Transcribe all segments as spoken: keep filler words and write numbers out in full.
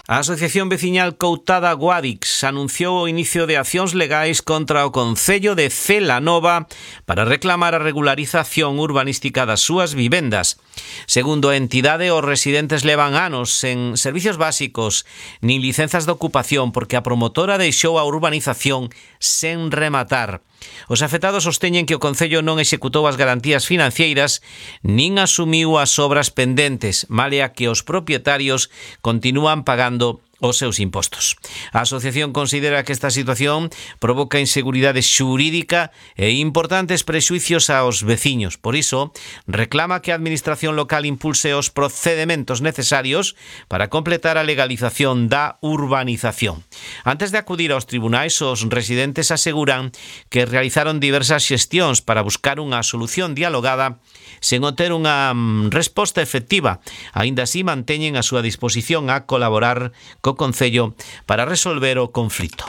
A Asociación Veciñal Coutada Guadix anunciou o inicio de accións legais contra o Concello de Celanova para reclamar a regularización urbanística das súas vivendas. Segundo a entidade, os residentes levan anos sen servicios básicos nin licenzas de ocupación porque a promotora deixou a urbanización sen rematar. Os afectados sosteñen que o Concello non executou as garantías financeiras nin asumiu as obras pendentes, malia que os propietarios continúan pagando os seus impostos. A asociación considera que esta situación provoca inseguridade xurídica e importantes prexuicios aos veciños. Por iso, reclama que a administración local impulse os procedementos necesarios para completar a legalización da urbanización. Antes de acudir aos tribunais, os residentes aseguran que realizaron diversas xestións para buscar unha solución dialogada sen obter unha resposta efectiva. Aínda así, manteñen a súa disposición a colaborar co Concello para resolver o conflito.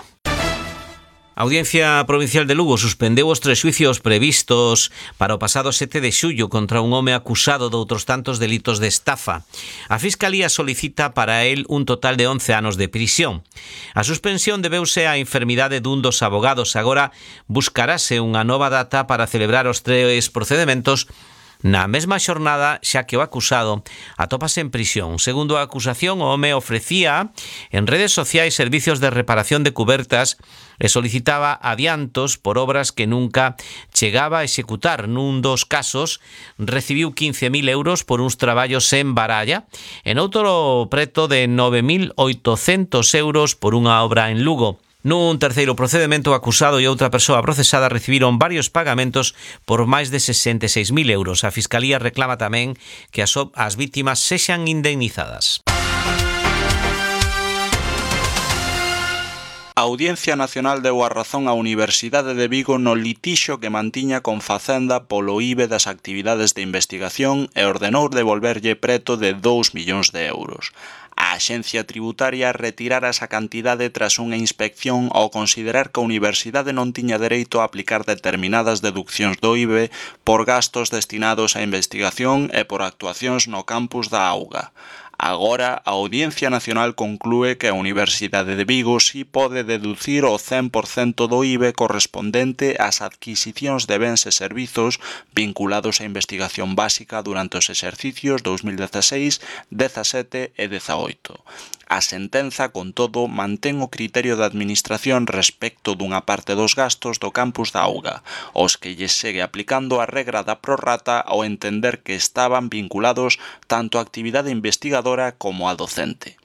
A Audiencia Provincial de Lugo suspendeu os tres xuicios previstos para o pasado sete de xullo contra un home acusado de outros tantos delitos de estafa. A Fiscalía solicita para él un total de once anos de prisión. A suspensión debeuse á enfermidade dun dos abogados. Agora buscarase unha nova data para celebrar os tres procedementos na mesma xornada, xa que o acusado atópase en prisión. Segundo a acusación, o home ofrecía en redes sociais servicios de reparación de cubertas e solicitaba adiantos por obras que nunca chegaba a executar. Nun dos casos, recibiu quince mil euros por uns traballos en Baralla, en outro preto de nove mil oitocentos euros por unha obra en Lugo. Nun terceiro procedemento, o acusado e outra persoa procesada recibiron varios pagamentos por máis de sesenta e seis mil euros. A Fiscalía reclama tamén que as, as vítimas sexan indemnizadas. A Audiencia Nacional deu a razón á Universidade de Vigo no litixio que mantiña con Facenda polo I B E das actividades de investigación e ordenou devolverlle preto de dous millóns de euros. A Axencia Tributaria retirara esa cantidade tras unha inspección ao considerar que a Universidade non tiña dereito a aplicar determinadas deduccións do I B E por gastos destinados á investigación e por actuacións no campus da Auga. Agora, a Audiencia Nacional conclúe que a Universidade de Vigo si pode deducir o cen por cento do I B E correspondente ás adquisicións de bens e servizos vinculados á investigación básica durante os exercicios dous mil dezaseis, dezasete e dezaoito. A sentenza, con todo, mantén o criterio da Administración respecto dunha parte dos gastos do campus da Auga, os que lles segue aplicando a regra da prorrata ao entender que estaban vinculados tanto á actividade investigadora como a docente.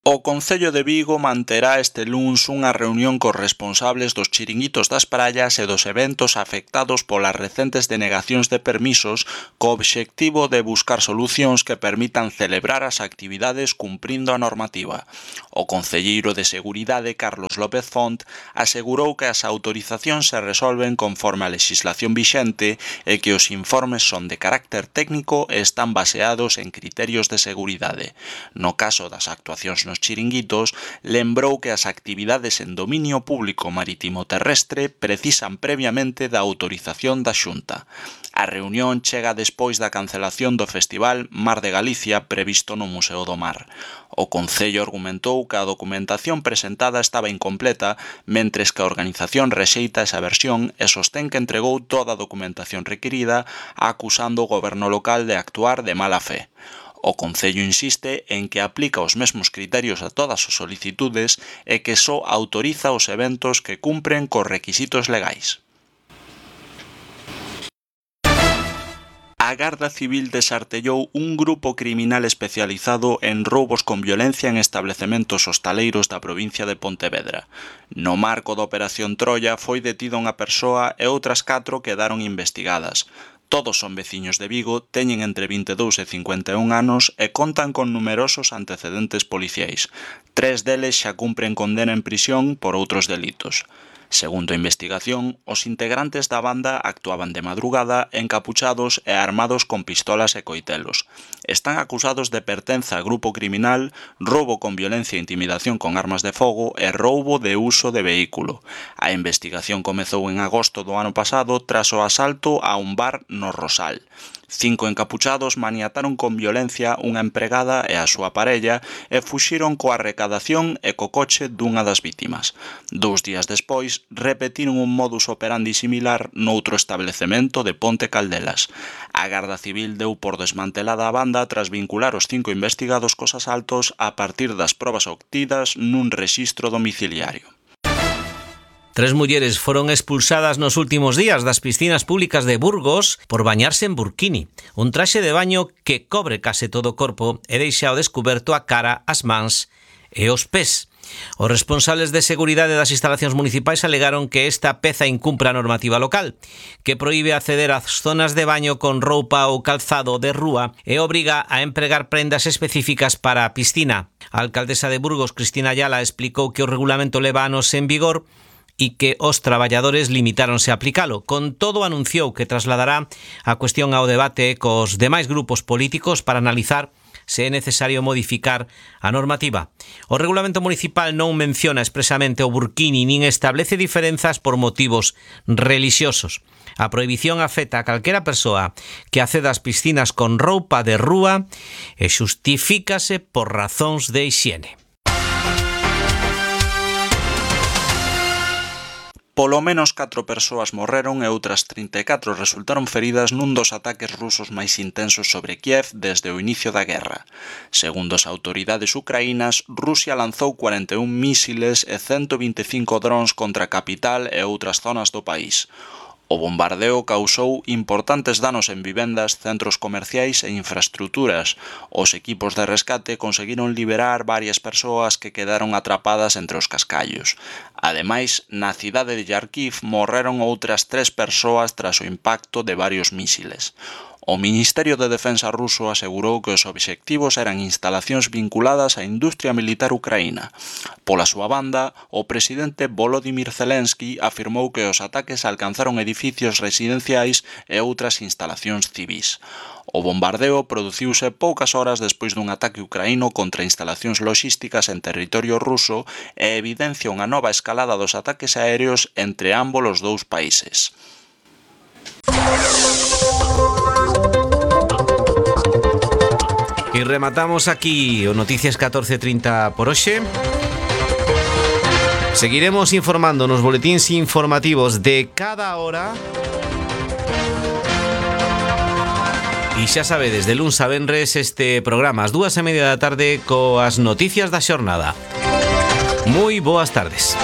O Concello de Vigo manterá este luns unha reunión cos responsables dos chiringuitos das praias e dos eventos afectados polas recentes denegacións de permisos co obxectivo de buscar solucións que permitan celebrar as actividades cumprindo a normativa. O concelleiro de Seguridade, Carlos López Font, asegurou que as autorizacións se resolven conforme a legislación vixente e que os informes son de carácter técnico e están baseados en criterios de seguridade. No caso das actuacións nos chiringuitos, lembrou que as actividades en dominio público marítimo terrestre precisan previamente da autorización da Xunta. A reunión chega despois da cancelación do Festival Mar de Galicia previsto no Museo do Mar. O Concello argumentou que a documentación presentada estaba incompleta, mentres que a organización rexeita esa versión e sostén que entregou toda a documentación requirida, acusando o goberno local de actuar de mala fe. O Concello insiste en que aplica os mesmos criterios a todas as solicitudes e que só autoriza os eventos que cumpren cos requisitos legais. A Garda Civil desartellou un grupo criminal especializado en roubos con violencia en establecementos hostaleiros da provincia de Pontevedra. No marco da Operación Troia foi detida unha persoa e outras catro quedaron investigadas. Todos son veciños de Vigo, teñen entre vinte e dous e cincuenta e un anos e contan con numerosos antecedentes policiais. Tres deles xa cumpren condena en prisión por outros delitos. Segundo a investigación, os integrantes da banda actuaban de madrugada encapuchados e armados con pistolas e coitelos. Están acusados de pertenza a grupo criminal, roubo con violencia e intimidación con armas de fogo e roubo de uso de vehículo. A investigación comezou en agosto do ano pasado tras o asalto a un bar no Rosal. Cinco encapuchados maniataron con violencia unha empregada e a súa parella e fuxiron coa recadación e co coche dunha das vítimas. Dous días despois, repetiron un modus operandi similar noutro establecemento de Ponte Caldelas. A Garda Civil deu por desmantelada a banda tras vincular os cinco investigados cos asaltos a partir das probas obtidas nun rexistro domiciliario. Tres mulleres foron expulsadas nos últimos días das piscinas públicas de Burgos por bañarse en burkini, un traxe de baño que cobre case todo o corpo e deixa ao descuberto a cara, as mans e os pés. Os responsables de seguridade das instalacións municipais alegaron que esta peza incumpre a normativa local, que proíbe acceder ás zonas de baño con roupa ou calzado de rúa e obriga a empregar prendas específicas para a piscina. A alcaldesa de Burgos, Cristina Ayala, explicou que o regulamento leva anos en vigor e que os traballadores limitáronse a aplicalo. Con todo, anunciou que trasladará a cuestión ao debate cos demais grupos políticos para analizar se é necesario modificar a normativa. O regulamento municipal non menciona expresamente o burkini nin establece diferenzas por motivos relixiosos. A prohibición afecta a calquera persoa que acceda ás piscinas con roupa de rúa e xustifícase por razóns de hixiene. Polo menos catro persoas morreron e outras trinta e catro resultaron feridas nun dos ataques rusos máis intensos sobre Kiev desde o inicio da guerra. Segundo as autoridades ucraínas, Rusia lanzou cuarenta e un mísiles e ciento vinte e cinco drons contra a capital e outras zonas do país. O bombardeo causou importantes danos en vivendas, centros comerciais e infraestruturas. Os equipos de rescate conseguiron liberar varias persoas que quedaron atrapadas entre os cascallos. Ademais, na cidade de Kharkiv morreron outras tres persoas tras o impacto de varios mísiles. O Ministerio de Defensa ruso asegurou que os obxectivos eran instalacións vinculadas á industria militar ucraína. Pola súa banda, o presidente Volodymyr Zelensky afirmou que os ataques alcanzaron edificios residenciais e outras instalacións civís. O bombardeo produciuse poucas horas despois dun ataque ucraíno contra instalacións logísticas en territorio ruso e evidencia unha nova escalada dos ataques aéreos entre ambos os dous países. E rematamos aquí o Noticias catorce trinta por hoxe. Seguiremos informando nos boletíns informativos de cada hora. E xa sabedes, de luns a venres este programa ás dúas e media da tarde coas noticias da xornada. Moi boas tardes.